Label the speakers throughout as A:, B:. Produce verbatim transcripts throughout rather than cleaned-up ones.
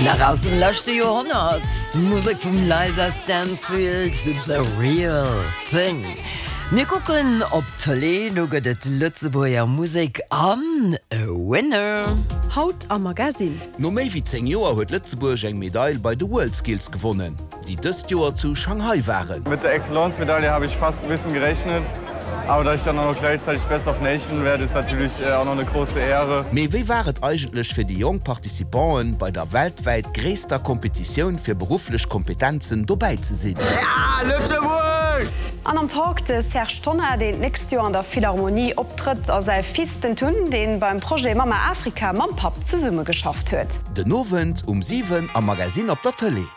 A: Nach aus dem leschte Joerhonnert, Musek vum Lisa Stansfield, The Real Thing. Mir kucken op d'Tëlee, do gëtt et Lëtzebuerger Musek an e Winner.
B: Haut am Magazine.
C: No méi wéi zéng Joer huet Lëtzebuerg eng Medail bei de WorldSkills gewonnen, déi dëst Joer zu Shanghai waren.
D: Mit der Excellence-Medaille habe ich fast ein bisschen gerechnet. Aber dass ich dann auch noch gleichzeitig Best of Nation werde, ist natürlich auch noch eine große Ehre.
C: Mee wéi war et eigentlech fir déi jonk Participanten, bei der weltwäit gréisster Kompetitioun fir berufflech Kompetenzen dobäi ze sinn?
E: Ja, Lëtzebuerg!
F: An am Talk de Serge Tonnar, deen d'nächst Joer an der Philharmonie optrëtt, a säi Fils den Tun, dee beim Projet Mamma Afrika mam Papp zesummegeschafft huet.
C: Den Owend um siwen am Magazine op der Tëlee.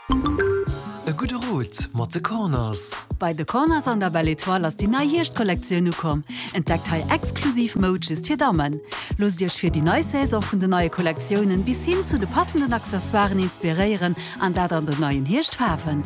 G: E gudde Rot mat The Corners.
H: Bei The Corners an der Belle Etoile ass déi nei Hierschtkollektioun ukomm. Entdeckt hei exklusiv Moud just fir Dammen. Loosst Iech fir déi nei Saison vun den neie Kollektiounen bis hin zu de passenden Accessoiren inspiréieren an dat an den neien Hierschtfaarwen.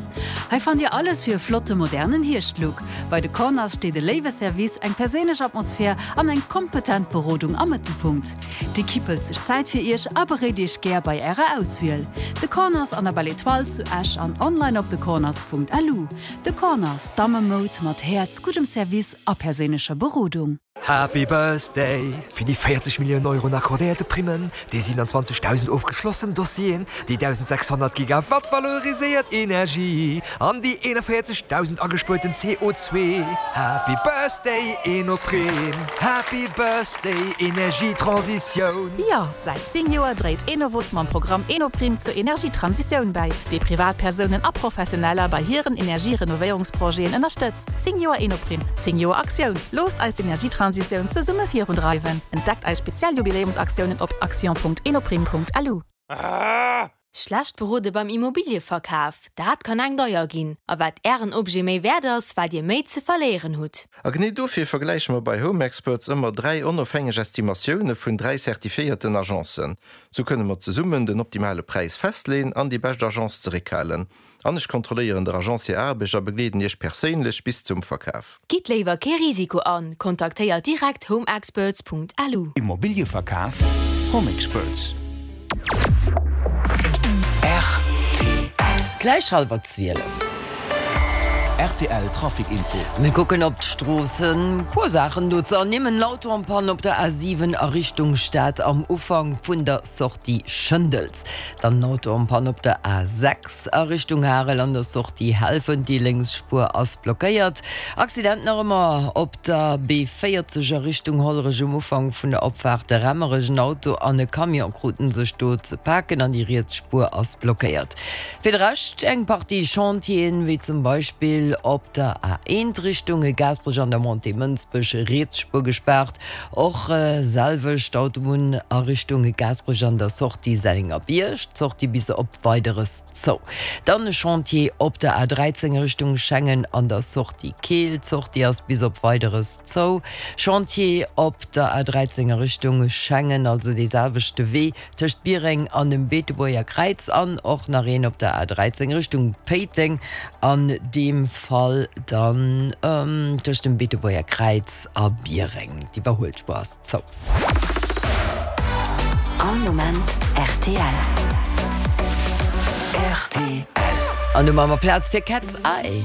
H: Hei fannt Dir alles fir e flotte modernen Hierschtlook. Bei The Corners steet e léiwe Service, eng perséinlech Atmosphär an eng kompetent Berodung am Mëttelpunkt. D'Ekipp hëlt sech Zäit fir Iech a beréit Iech gär bei Ärer Auswiel. The Corners an der Belle Etoile zu Esch an online op thecorners.lu. The Corners, Dammemoud mat Häerz, guddem Service a perséinlecher Berodung.
G: Happy Birthday! Fir déi véierzeg Milliounen Euroen accordéierte Primmen, déi siewenundzwanzegdausend ofgeschlossen Dossieren, déi dausensechshonnert Gigawatt valoriséiert Energie an déi eenanvéierzegdausend agespuerten C O zwee. Happy Birthday Enoprim! Happy Birthday Energietransitioun!
I: Jo, säit zéng Joer dréit Enovos mam Programm Enoprim zur Energietransitioun bäi, dee Privatpersounen a Professioneller bei hiren Energierenovéierungsprojeten ënnerstëtzt. Zéng Joer Enoprim, zéng Joer Aktioun! Loosst eis d'Energietransitioun zesumme virundreiwen! Entdeckt eis speziell Jubiläumsaktiounen op action.enoprim.lu.
J: Schlecht berode beim Immobilieverkaf, dat kann eng deier ginn. A wat ären Objet méi wäert ass, wat dir méi ze verléieren hutt.
K: A genee dofir vergläiche mer bei Home Experts ëmmer dräi onofhängeg Estimatioune vun dräi zertifiéierten Agencen. Sou kënne mer zesummen den optimale Präis festleeën an déi bescht Agence zeréckhalen. An ech kontrolléieren der Agence hir Aarbecht a begleeden iech perséinlech bis zum Verkaf.
J: Gitt léiwer kee Risiko an, kontaktéiert direkt homeexperts.lu.
L: Immobilieverkaf, Home Experts.
A: Gläich hallwer zwielef.
C: Rtl Trafic Info.
A: Mir kucken op d'Stroossen. Puer Saachen do ze ernimmen, Auto en panne op der A siwen a Richtung Stad am Ufank vun der Sortie Schëndels. Dann en Auto en panne op der A sechs a Richtung Harel an der Sortie Helfent, déi lénks Spuer ass blockéiert. Accident nach ëmmer op der B véierzeg a Richtung Hollerech um Ufank vun der Opfaart Remmerech. En Auto an e Camion kruten sech do ze paken an déi riets Spuer ass blockéiert. Fir de Rescht eng Partie Chantieren, wéi zum Beispill op der A eent Richtung Gaasperech an der Montée Mënsbech, riets Spuer gespaart. Och selwecht Autobunn a Richtung Gaasperech an der Sortie Sennengerbierg, d'Sortie bis op Weideres zou. Dann e Chantier op der A dräizéng Richtung Schengen an der Sortie Keel, d'Sortie ass bis op Weideres zou. Chantier op der A dräizéng a Richtung Schengen, also dee selwechte Wee tëscht Biereng an dem Beetebuerger Kräiz an och nach een op der A dräizéng Richtung Péiteng, an deem Fall dann tëscht dem Beetebuerger Kräiz a Biereng. D'Iwwerhuelspuer ass zou.
M: All Moment rtl.
A: An do maache mer Plaz fir Cat's Eye.